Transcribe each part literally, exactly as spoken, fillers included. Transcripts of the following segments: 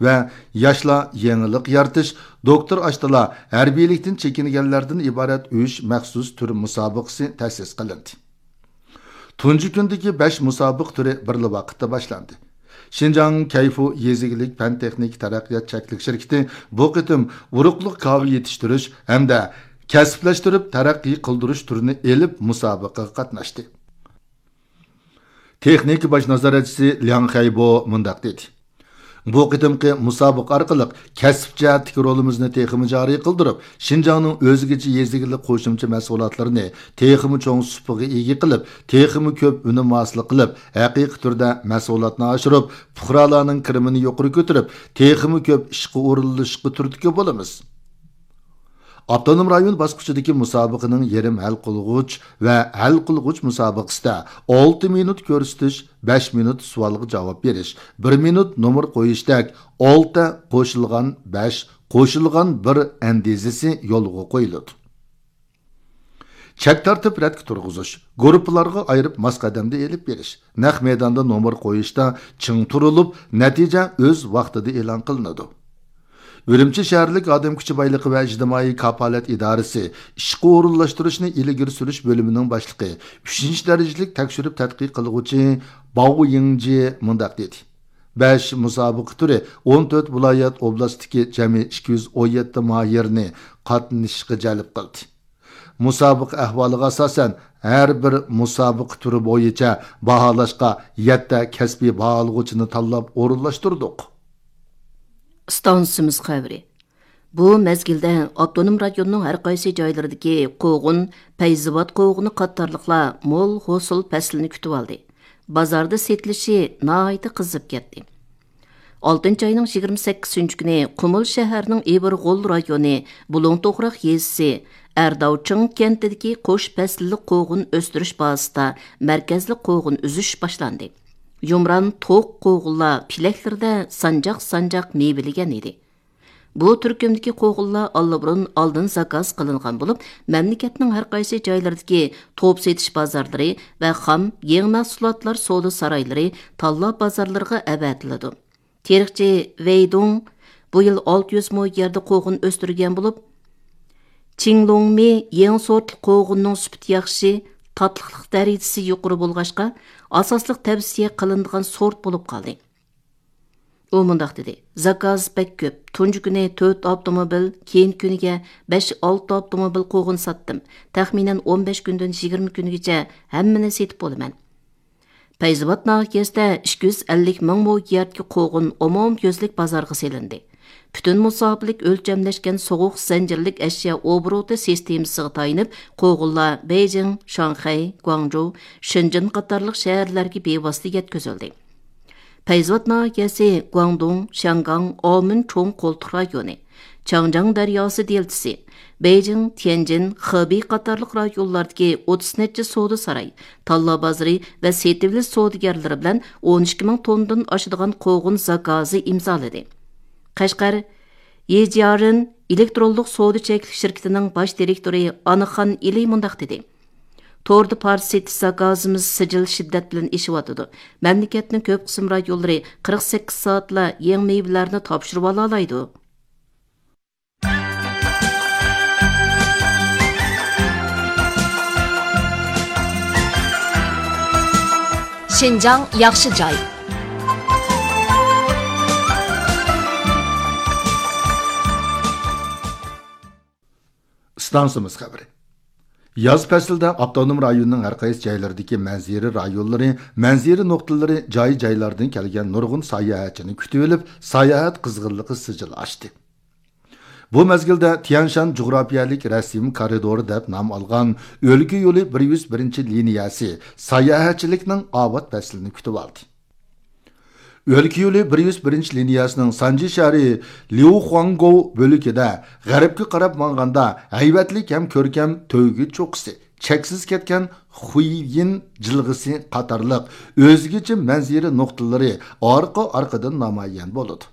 ۋە ياشلار يېڭىلىق يارىتىش، دوكتور ئاشتىلار ھەربىيلىكتىن چېكىنگەنلەردىن ئىبارەت ئۈچ مەخسۇس تۈر مۇسابىقىسى تەسىس قىلىندى. تۇنجى كۈندىكى بەش مۇسابىقە تۈرى بىرلا ۋاقىتتا باشلاندى. شىنجاڭ كەيفۇ يېزا ئىگىلىك پەن تېخنىكا تەرەققىيات چەكلىك شىركىتى بۇ قېتىم ئۇرۇقلۇق كاۋا يېتىشتۈرۈش ھەمدە كەسىپلەشتۈرۈپ تەرەققىي قىلدۇرۇش تۈرىنى ئېلىپ مۇسابىقىگە قاتناشتى. تېخنىكا باش نازارەتچىسى لياڭ خەيبو مۇنداق دېدى: بۇ قېتىمقى مۇسابىقە ئارقىلىق كەسىپ جەھەتتىكى رولىمىزنى تېخىمۇ جارى قىلدۇرۇپ، شىنجاڭنىڭ ئۆزگىچە يېزا ئىگىلىك قوشۇمچە مەھسۇلاتلىرىنى تېخىمۇ چوڭ سۇپىغا ئىگە قىلىپ، تېخىمۇ كۆپ ئۈنۈم ھاسىل قىلىپ، ھەقىقىي تۈردە مەھسۇلاتنى ئاشۇرۇپ، پۇقرالارنىڭ كىرىمىنى يۇقىرى كۆتۈرۈپ، تېخىمۇ كۆپ ئىشقا ئورۇنلىشىشقا تۈرتكە بولىمىز. ئاپتونوم رايون باسقۇچىدىكى مۇسابىقىنىڭ يېرىم ھەل قىلغۇچ ۋە ھەل قىلغۇچ مۇسابىقىسىدە ئالتە مىنۇت كۆرسىتىش، بەش مىنۇت سوئالغا جاۋاب بېرىش، بىر مىنۇت نومۇر قويۇشتەك ئالتە قوشۇلغان بەش قوشۇلغان بىر ئەندىزىسى يولغا قويۇلىدۇ. چەك تارتىپ رەتكە تۇرغۇزۇش، گۇرۇپپىلارغا ئايرىپ ماس قەدەمدە ئېلىپ بېرىش، نەق مەيداندا نومۇر قويۇشتا چىڭ تۇرۇلۇپ، نەتىجە ئۆز ۋاقتىدا ئېلان قىلىنىدۇ. ئۈرۈمچى شەھەرلىك ئادەم كۈچى بايلىقى ۋە ئىجتىمائىي كاپالەت ئىدارىسى ئىشقا ئورۇنلاشتۇرۇشنى ئىلگىرى سۈرۈش بۆلۈمىنىڭ باشلىقى، ئۈچىنچى دەرىجىلىك تەكشۈرۈپ تەتقىق قىلغۇچى باۋ يىڭجى مۇنداق دېدى: بەش مۇسابىقە تۈرى ئون تۆت ۋىلايەت ئوبلاستتىكى جەمئىي ئىككى يۈز ئون يەتتە ماھىرنى قاتنىشىشقا جەلپ قىلدى. مۇسابىقە ئەھۋالىغا ئاساسەن، ھەر بىر مۇسابىقە تۈرى بويىچە باھالاشقا يەتتە كەسپىي باھالىغۇچىنى تاللاپ ئورۇنلاشتۇردۇق. ئىستانسىمىز خەۋىرى. بۇ مەزگىلدە ئاپتونوم رايوننىڭ ھەر قايسى جايلىرىدىكى قوغۇن، پەيزىۋات قوغۇنى قاتارلىقلار مول ھوسۇل پەسلىنى كۈتۈۋالدى. بازاردا سېتىلىشى ناھايىتى قىزىپ كەتتى. ئالتىنچى ئاينىڭ يىگىرمە سەككىزىنچى كۈنى قۇمۇل شەھەرنىڭ ئىبىرغول رايونى بۇلۇڭ توغراق يېزىسى ئەرداۋچىڭ كەنتىدىكى قوش پەسىللىك قوغۇن ئۆستۈرۈش بازىسىدا مەركەزلىك قوغۇن ئۈزۈش باشلاندى. يۇمران توق قوغۇنلار پېلەكلىرىدە سانجاق-سانجاق مېۋىلىگەن ئىدى. بۇ تۈركۈمدىكى قوغۇنلار ئاللىبۇرۇن ئالدىن زاكاز قىلىنغان بولۇپ، مەملىكەتنىڭ ھەر قايسى جايلىرىدىكى توپ سېتىش بازارلىرى ۋە خام يېڭى مەھسۇلاتلار سودا سارايلىرى، تاللا بازارلىرىغا ئەۋەتىلىدۇ. تېرىقچى ۋېيدۇڭ بۇ يىل ئالتە يۈز مو يەردە قوغۇن ئۆستۈرگەن بولۇپ، چىڭلۇڭمى يېڭى سورتلۇق قوغۇننىڭ سۈپىتى ياخشى، تاتلىقلىق دەرىجىسى يۇقىرى بولغاچقا، ئاساسلىق تەۋسىيە قىلىنىدىغان سورت بولۇپ قالدى. ئۇ مۇنداق دېدى: زاكاز بەك كۆپ، تۇنجى كۈنى تۆت ئاپتوموبىل، كېيىنكى كۈنىگە بەش، ئالتە ئاپتوموبىل قوغۇن ساتتىم. تەخمىنەن ئون بەش كۈندىن يىگىرمە كۈنگىچە ھەممىنى سېتىپ بولىمەن. پەيزىۋات ناھىيەسىدە ئىككى يۈز ئەللىك مىڭ مو يەردىكى قوغۇن ئومۇميۈزلۈك بازارغا سېلىندى. پۈتۈن مۇساپىلىك ئۆلچەملەشكەن سوغۇق زەنجىرلىك ئەشيا ئوبوروتى سىستېمىسىغا تايىنىپ، قوغۇنلار بېيجىڭ، شاڭخەي، گۇاڭجۇ، شېنجېن قاتارلىق شەھەرلەرگە بىۋاسىتە يەتكۈزۈلدى. پەيزىۋات ناھىيەسى گۇاڭدۇڭ، شياڭگاڭ، ئاۋمېن چوڭ قولتۇق رايونى، چاڭجياڭ دەرياسى دېلتىسى، بېيجىڭ، تيەنجىن، خېبېي قاتارلىق رايونلاردىكى ئوتتۇز نەچچە سودا ساراي، تاللا بازىرى ۋە سېتىۋېلىش سودىگەرلىرى بىلەن ئون ئىككى مىڭ توننىدىن ئاشىدىغان قوغۇن زاكازى ئىمزالىدى. قەشقەر يېجيارېن ئېلېكترونلۇق سودا چەكلىك شىركىتىنىڭ باش دىرېكتورى ئانىخان ئىلى مۇنداق دېدى: توردا پارچە سېتىش زاكازىمىز سىجىل شىددەت بىلەن ئېشىۋاتىدۇ. مەملىكەتنىڭ كۆپ قىسىم رايونلىرى قىرىق سەككىز سائەتلا يېڭى مېۋىلەرنى تاپشۇرۇۋالالايدۇ. شىنجاڭ ياخشى جاي. ئىستانسىمىز خەۋىرى. ياز پەسلىدە ئاپتونوم رايوننىڭ ھەر قايسى جايلىرىدىكى مەنزىرە رايونلىرى، مەنزىرە نۇقتىلىرى جاي-جايلاردىن كەلگەن نۇرغۇن ساياھەتچىنى كۈتۈۋېلىپ، ساياھەت قىزغىنلىقى سىجىل ئاشتى. بۇ مەزگىلدە تيەنشان جۇغراپىيەلىك رەسىم كارىدورى دەپ نام ئالغان ئۆلكە يولى بىر يۈز بىرىنچى لىنىيەسى ساياھەتچىلىكنىڭ ئاۋات پەسلىنى كۈتۈۋالدى. ئۆلكە يولى بىر يۈز بىرىنچى لىنىيەسىنىڭ سانجى شەھىرى ليۇخۇاڭگوۋ بۆلىكىدە غەربكە قاراپ ماڭغاندا ھەيۋەتلىك ھەم كۆركەم تۆگە چوققىسى، چەكسىز كەتكەن خۇييىن جىلغىسى قاتارلىق ئۆزگىچە مەنزىرە نۇقتىلىرى ئارقا-ئارقىدىن نامايان بولىدۇ.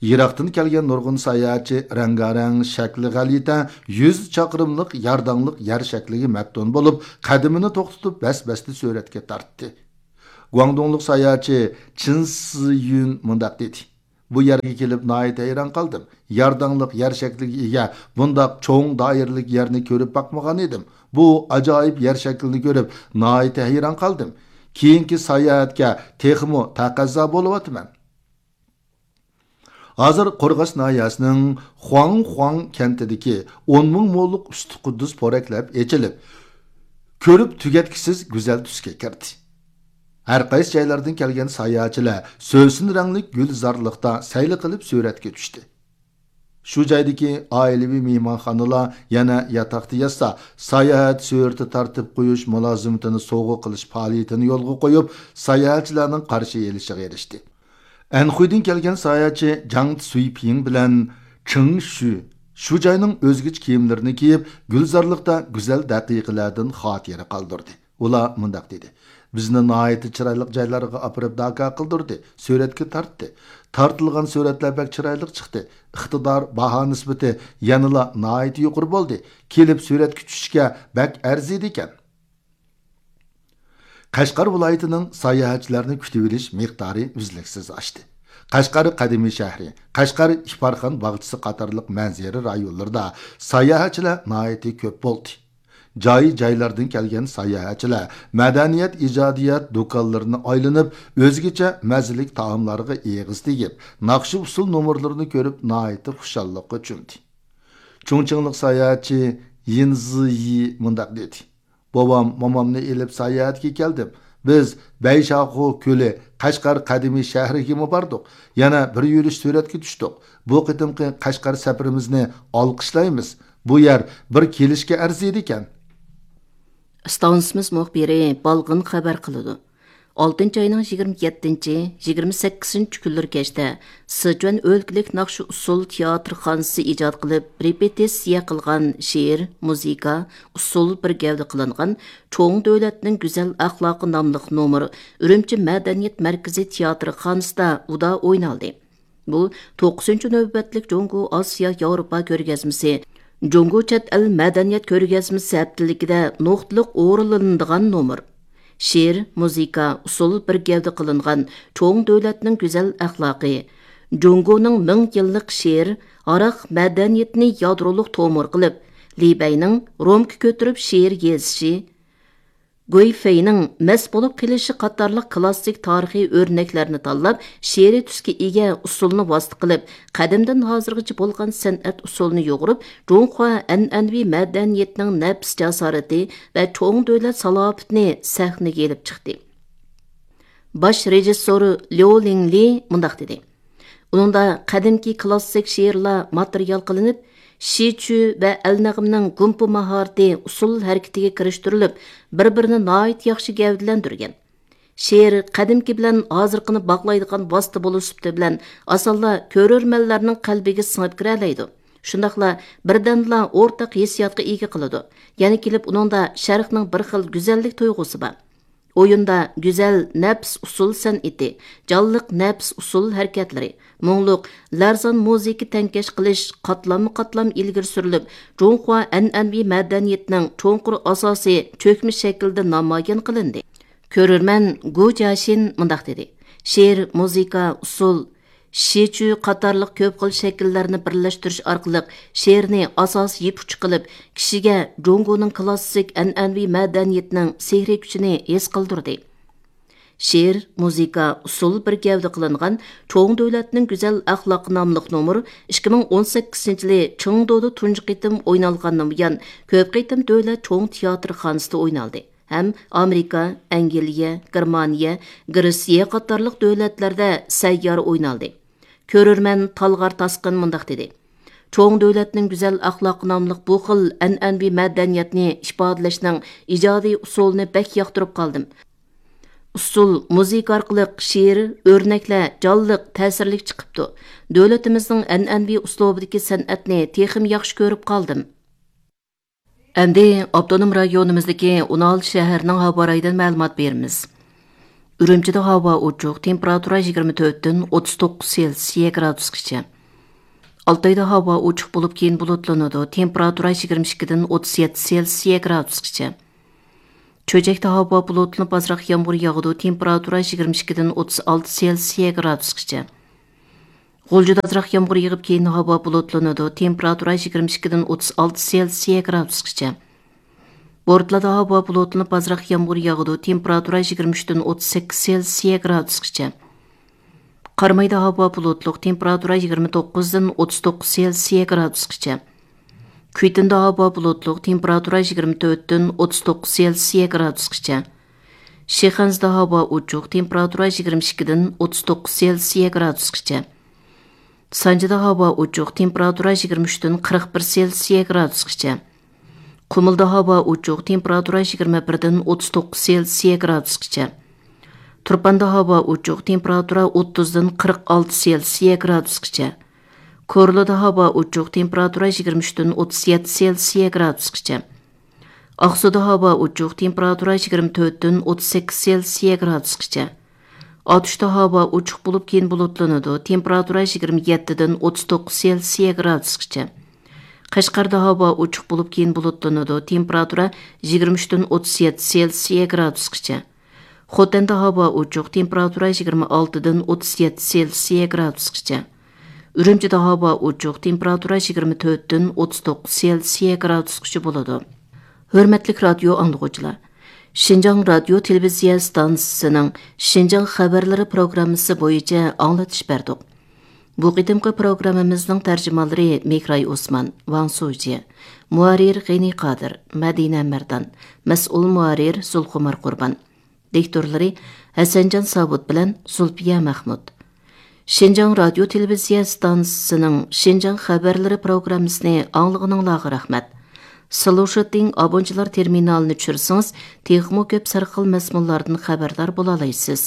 يىراقتىن كەلگەن نۇرغۇن ساياھەتچى رەڭگارەڭ، شەكلى غەلىتە، يۈز چاقىرىملىق يارداڭلىق يەر شەكلىگە مەپتۇن بولۇپ، قەدىمىنى توختىتىپ، بەس-بەستە سۈرەتكە تارتتى. گۇاڭدۇڭلۇق ساياھەتچى چىن سىيۈن مۇنداق دېدى: بۇ يەرگە كېلىپ ناھايىتى ھەيران قالدىم. يارداڭلىق يەر شەكلىگە ئىگە بۇنداق چوڭ دائىرىلىك يەرنى كۆرۈپ باقمىغان ئىدىم. بۇ ئاجايىپ يەر شەكلىنى كۆرۈپ ناھايىتى ھەيران قالدىم. كېيىنكى ساياھەتكە تېخىمۇ تەقەززا بولۇۋاتىمەن. ھازىر قورغاس ناھىيەسىنىڭ خۇاڭخۇاڭ كەنتىدىكى ئون مىڭ موللۇق ئۈستى قۇددۇس پورەكلەپ ئېچىلىپ، كۆرۈپ تۈگەتكۈسىز گۈزەل تۈسكە كىردى. ھەر قايسى جايلاردىن كەلگەن ساياھەتچىلەر سۆسۈن رەڭلىك گۈلزارلىقتا سەيلە قىلىپ سۈرەتكە چۈشتى. شۇ جايدىكى ئائىلىۋى مېھمانخانىلار يەنە ياتاقتا ياتسا، ساياھەت سۈرىتى تارتىپ قويۇش مۇلازىمىتىنى سوۋغا قىلىش پائالىيىتىنى يولغا قويۇپ، ساياھەتچىلەرنىڭ قارشى ئېلىشىغا ئېرىشتى. ئەنخۇيدىن كەلگەن ساياھەتچى جاڭ تسۇيپىڭ بىلەن چېڭ شۈ شۇ جاينىڭ ئۆزگىچە كىيىملىرىنى كىيىپ، گۈلزارلىقتا گۈزەل دەقىقىلەردىن خاتىرە قالدۇردى. ئۇلار مۇنداق دېدى: «بىزنى ناھايىتى چىرايلىق جايلارغا ئاپىرىپ داكا قىلدۇردى، سۈرەتكە تارتتى. تارتىلغان سۈرەتلەر بەك چىرايلىق چىقتى. ئىقتىدار، باھا نىسبىتى يەنىلا ناھايىتى يۇقىرى بولدى. كېلىپ سۈرەتكە چۈشۈشكە بەك ئەرزىيدىكەن.» قەشقەر ۋىلايىتىنىڭ ساياھەتچىلەرنى كۈتۈۋېلىش مىقدارى ئۈزلۈكسىز ئاشتى. قەشقەر قەدىمىي شەھىرى، قەشقەر ئىپارخان باغچىسى قاتارلىق مەنزىرە رايونلىرىدا ساياھەتچىلەر ناھايىتى كۆپ بولدى. جاي-جايلاردىن كەلگەن ساياھەتچىلەر مەدەنىيەت، ئىجادىيەت دۇكانلىرىنى ئايلىنىپ، ئۆزگىچە مەززىلىك تائاملارغا ئېغىز تېگىپ، ناخشا-ئۇسسۇل نومۇرلىرىنى كۆرۈپ، ناھايىتى خۇشاللىققا چۆمدى. چۇڭچىڭلىق ساياھەتچى يىن زىيى مۇنداق دېدى: «بوۋام، مومامنى ئېلىپ ساياھەتكە كەلدىم. بىز بەيشاخۇ كۆلى، قەشقەر قەدىمىي شەھىرىگىمۇ باردۇق. يەنە بىر يۈرۈش سۈرەتكە چۈشتۇق. بۇ قېتىمقى قەشقەر سەپىرىمىزنى ئالقىشلايمىز. بۇ يەر بىر كېلىشكە ئەرزىيدىكەن.» ئىستانسىمىز مۇخبىرى بالغىن خەۋەر قىلىدۇ. ئالتىنچى ئاينىڭ يىگىرمە يەتتىنچى، يىگىرمە سەككىزىنچى كۈنلىرى كەچتە سىچۈەن ئۆلكىلىك ناخشا ئۇسسۇل تىياتىرخانىسى ئىجاد قىلىپ، رېپېتىتسىيە قىلغان شېئىر، مۇزىكا، ئۇسسۇل بىر گەۋدە قىلىنغان چوڭ دۆلەتنىڭ گۈزەل ئەخلاقى ناملىق نومۇر ئۈرۈمچى مەدەنىيەت مەركىزى تىياتىرخانىسىدا ئۇدا ئوينالدى. بۇ توققۇزىنچى نۆۋەتلىك جۇڭگو ئاسىيا ياۋروپا كۆرگەزمىسى، جۇڭگو چەت ئەل مەدەنىيەت كۆرگەزمىسى ھەپتىلىكىدە نۇقتىلىق ئورۇنلىنىدىغان نومۇر. شېئىر، مۇزىكا، ئۇسسۇل بىر گەۋدە قىلىنغان چوڭ دۆلەتنىڭ گۈزەل ئەخلاقى، جۇڭگونىڭ مىڭ يىللىق شېئىر، ھاراق مەدەنىيىتىنى يادرولۇق تومۇر قىلىپ، لى بەينىڭ رومكا كۆتۈرۈپ شېئىر يېزىشى، گۇي فېينىڭ مەست بولۇپ قېلىشى قاتارلىق كلاسسىك تارىخىي ئۆرنەكلەرنى تاللاپ، شېئىرىي تۈسكە ئىگە ئۇسسۇلنى ۋاسىتە قىلىپ، قەدىمدىن ھازىرغىچە بولغان سەنئەت ئۇسسۇلىنى يۇغۇرۇپ، جۇڭخۇا ئەنئەنىۋى مەدەنىيىتىنىڭ نەپىس جاسارىتى ۋە چوڭ دۆلەت سالاپىتىنى سەھنىگە ئېلىپ چىقتى. باش رېژىسسورى ليۇ لىڭلى مۇنداق دېدى: ئۇنىڭدا قەدىمكى كلاسسىك شېئىرلار ماتېرىيال قىلىنىپ، شىچۈ ۋە ئەلنەغمىنىڭ گۇمپا ماھارىتى ئۇسسۇل ھەرىكىتىگە كىرىشتۈرۈلۈپ، بىر-بىرىنى ناھايىتى ياخشى گەۋدىلەندۈرگەن. شېئىر قەدىمكى بىلەن ھازىرقىنى باغلايدىغان ۋاسىتە بولۇش سۈپىتى بىلەن، ئاسانلا كۆرۈرمەنلەرنىڭ قەلبىگە سىڭىپ كىرەلەيدۇ. شۇنداقلا بىردەمدىلا ئورتاق ھېسسىياتقا ئىگە قىلىدۇ. يەنە كېلىپ ئۇنىڭدا شەرقنىڭ بىر خىل گۈزەللىك تۇيغۇسى بار. ئويۇندا گۈزەل نەپىس ئۇسسۇل سەنئىتى، جانلىق نەپىس ئۇسسۇل ھەرىكەتلىرى، مۇڭلۇق، لەرزان مۇزىكا تەڭكەش قىلىش قاتلاممۇ قاتلام ئىلگىرى سۈرۈلۈپ، جۇڭخۇا ئەنئەنىۋى مەدەنىيىتىنىڭ چوڭقۇر ئاساسى چۆكمە شەكىلدە نامايان قىلىندى. كۆرۈرمەن گۇ جياشىن مۇنداق دېدى: شېئىر، مۇزىكا، ئۇسسۇل، شىچۈ قاتارلىق كۆپ خىل شەكىللەرنى بىرلەشتۈرۈش ئارقىلىق شېئىرنى ئاساسىي يىپ ئۇچى قىلىپ، كىشىگە جۇڭگونىڭ كلاسسىك ئەنئەنىۋى مەدەنىيىتىنىڭ سېھرىي كۈچىنى ھېس قىلدۇردى. شېئىر، مۇزىكا، ئۇسسۇل بىر گەۋدە قىلىنغان چوڭ دۆلەتنىڭ گۈزەل ئەخلاقى ناملىق نومۇر ئىككى مىڭ ئون سەككىزىنچى يىلى چېڭدۇدا تۇنجى قېتىم ئوينالغاندىن بۇيان، كۆپ قېتىم دۆلەت چوڭ تىياتىرخانىسىدا ئوينالدى ھەم ئامېرىكا، ئەنگلىيە، گېرمانىيە، گرېتسىيە قاتارلىق دۆلەتلەردە سەييارە ئوينالدى. كۆرۈرمەن تالغار تاسقىن مۇنداق دېدى: چوڭ دۆلەتنىڭ گۈزەل ئەخلاقى ناملىق بۇ خىل ئەنئەنىۋى مەدەنىيەتنى ئىپادىلەشنىڭ ئىجادىي ئۇسۇلىنى بەك ياقتۇرۇپ قالدىم. ئۇسسۇل، مۇزىكا ئارقىلىق شېئىر، ئۆرنەكلەر جانلىق، تەسىرلىك چىقىپتۇ. دۆلىتىمىزنىڭ ئەنئەنىۋى ئۇسلۇبىدىكى سەنئەتنى تېخىمۇ ياخشى كۆرۈپ قالدىم. ئەمدى ئاپتونوم رايونىمىزدىكى ئون ئالتە شەھەرنىڭ ھاۋا رايىدىن مەلۇمات بېرىمىز. ئۈرۈمچىدە ھاۋا ئوچۇق، تېمپېراتۇرا يىگىرمە تۆتتىن ئوتتۇز توققۇز سېلسىيە گرادۇسقىچە. ئالتايدا ھاۋا ئوچۇق بولۇپ، كېيىن بۇلۇتلىنىدۇ، تېمپېراتۇرا يىگىرمە ئىككىدىن ئوتتۇز يەتتە سېلسىيە گرادۇسقىچە. چۆچەكتە ھاۋا بۇلۇتلىنىپ، ئازراق يامغۇر ياغىدۇ، تېمپېراتۇرا يىگىرمە ئىككىدىن ئوتتۇز ئالتە سېلسىيە گرادۇسقىچە. غۇلجىدا ئازراق يامغۇر يېغىپ، كېيىن ھاۋا بۇلۇتلىنىدۇ. تېمپېراتۇرا يىگىرمە ئىككىدىن ئوتتۇز ئالتە سېلسىيە گرادۇسقىچە. بورتالادا ھاۋا بۇلۇتلىنىپ، ئازراق يامغۇر ياغىدۇ. تېمپېراتۇرا يىگىرمە ئۈچتىن ئوتتۇز سەككىز سېلسىيە گرادۇسقىچە. قارامايدا ھاۋا بۇلۇتلۇق، تېمپېراتۇرا يىگىرمە توققۇزدىن ئوتتۇز توققۇز سېلسىيە گرادۇسقىچە. كۈيتۇندا ھاۋا بۇلۇتلۇق، تېمپېراتۇرا يىگىرمە تۆتتىن ئوتتۇز توققۇز سېلسىيە گرادۇسقىچە. شىخەنزىدە ھاۋا ئوچۇق، تېمپېراتۇرا يىگىرمە ئىككىدىن ئوتتۇز توققۇز سېلسىيە گرادۇسقىچە. سانجىدا ھاۋا ئوچۇق، تېمپېراتۇرا يىگىرمە ئۈچتىن قىرىق بىر سېلسىيە گرادۇسقىچە. قۇمۇلدا ھاۋا ئوچۇق، تېمپېراتۇرا يىگىرمە بىردىن ئوتتۇز توققۇز سېلسىيە گرادۇسقىچە. تۇرپاندا ھاۋا ئوچۇق، تېمپېراتۇرا ئوتتۇزدىن قىرىق ئالتە سېلسىيە گرادۇسقىچە. كورلىدا ھاۋا ئوچۇق، تېمپېراتۇرا يىگىرمە ئۈچتىن ئوتتۇز يەتتە سېلسىيە گرادۇسقىچە. ئاقسۇدا ھاۋا ئوچۇق، تېمپېراتۇرا يىگىرمە تۆتتىن ئوتتۇز سەككىز سېلسىيە گرادۇسقىچە. ئاتۇشتا ھاۋا ئوچۇق بولۇپ، كېيىن بۇلۇتلىنىدۇ، تېمپېراتۇرا يىگىرمە يەتتىدىن ئوتتۇز توققۇز سېلسىيە گرادۇسقىچە. قەشقەردە ھاۋا ئوچۇق بولۇپ، كېيىن بۇلۇتلىنىدۇ، تېمپېراتۇرا يىگىرمە ئۈچتىن ئوتتۇز يەتتە سېلسىيە گرادۇسقىچە. خوتەندە ھاۋا ئوچۇق، تېمپېراتۇرا يىگىرمە ئالتىدىن ئوتتۇز يەتتە سېلسىيە گرادۇسقىچە. ئۈرۈمچىدە ھاۋا ئوچۇق، تېمپېراتۇرا يىگىرمە تۆتتىن ئوتتۇز توققۇز سېلسىيە گرادۇسقىچە بولىدۇ. ھۆرمەتلىك رادىيو ئاڭلىغۇچىلار، شىنجاڭ رادىيو تېلېۋىزىيە ستانسىسىنىڭ شىنجاڭ خەۋەرلىرى پروگراممىسى بويىچە ئاڭلىتىش بەردۇق. بۇ قېتىمقى پروگراممىمىزنىڭ تەرجىمانلىرى مېھراي ئوسمان، ۋاڭ سۇجى، مۇھەررىر غېنى قادىر، مەدىنە مەردان، مەسئۇل مۇھەررىر زۇلخۇمار قۇربان. دىكتورلىرى ھەسەنجان ساۋۇت بىلەن زۇلپىيە مەخمۇت. شىنجاڭ رادىيو تېلېۋىزىيە ستانسىسىنىڭ شىنجاڭ خەۋەرلىرى پروگراممىسىنى ئاڭلىغىنىڭلارغا رەھمەت. سلۇشىتىڭ ئابونچىلار تېرمىنالىنى چۈشۈرسىڭىز، تېخىمۇ كۆپ سەرخىل مەزمۇنلاردىن خەۋەردار بولالايسىز.